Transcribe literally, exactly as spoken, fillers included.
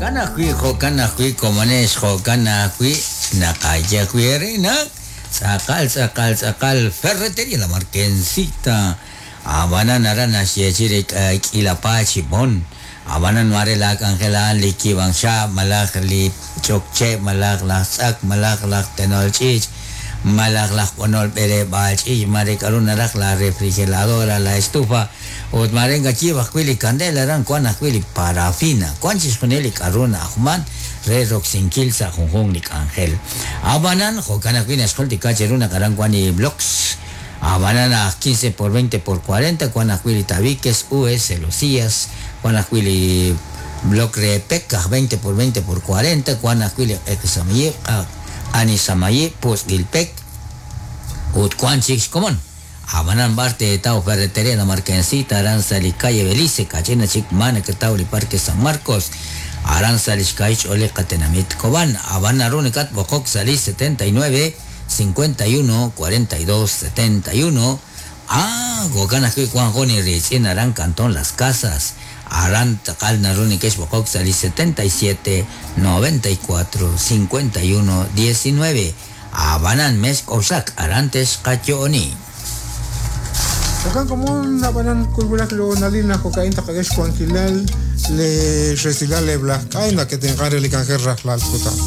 Jo'kan ajwi', jo'kan ajwi', komonex, jo'kan ajwi', naqaye ajwi' eere naq tz'aqal, tz'aqal, tz'aqal Ferretería La Marquencita. Ab'anan aran naxyeechi re k'iila paay chi b'on. Ab'anan mare la k'anjel a'an li kiib'ank xaab', malaj li ch'okche', malaj laj tz'ak, malaj laj tenol ch'iich', malaj laj b'onol b'eleb'aal ch'iich', mare k'aru naraj la refrigeradora, la estufa, ut mare ngayiib' ajwi' li kandela aran wan ajwi' li parafina, wan chixjunil li k'aru na'ajman re roksinkil sa' junjunq li k'anjel. Ab'anan jo'kan ajwi' naxjultika cheru naq aran wan li blocks, ab'anan aj quince por veinte por cuarenta, wan ajwi' li tabiques, U S, celosías, wan ajwi' li bloc re P E C aj veinte por veinte por cuarenta, wan ajwi' li q'eqisamayib', anisamayib', pusb'il pek, ut wan chik xkomon. Ab'anan b'ar teetaw Ferretería La Marquencita? Aran sa' li calle Belice, kach'ina chik ma nakataw li Parque San Marcos, aran sa' li xka'ix ch'oolej qatenamit Cobán. Ab'an naru nakatb'oqok sa' li setenta y nueve cincuenta y uno cuarenta y dos setenta y uno. Ah, jo'kan ajwi' wan jun riitz'in aran Cantón Las Casas. Aran taqal naru neke'xb'oqok sa' li setenta y siete noventa y cuatro cincuenta y uno diecinueve. Ab'anan mex k'oxlak, aran texqayo'oni. Jo'kan komon ab'anan kulwulak lo nalina jo'ka'in taqak'e xwankilal le resilal le blaj k'ay naketenq'an re li k'anjel rajlal kutan.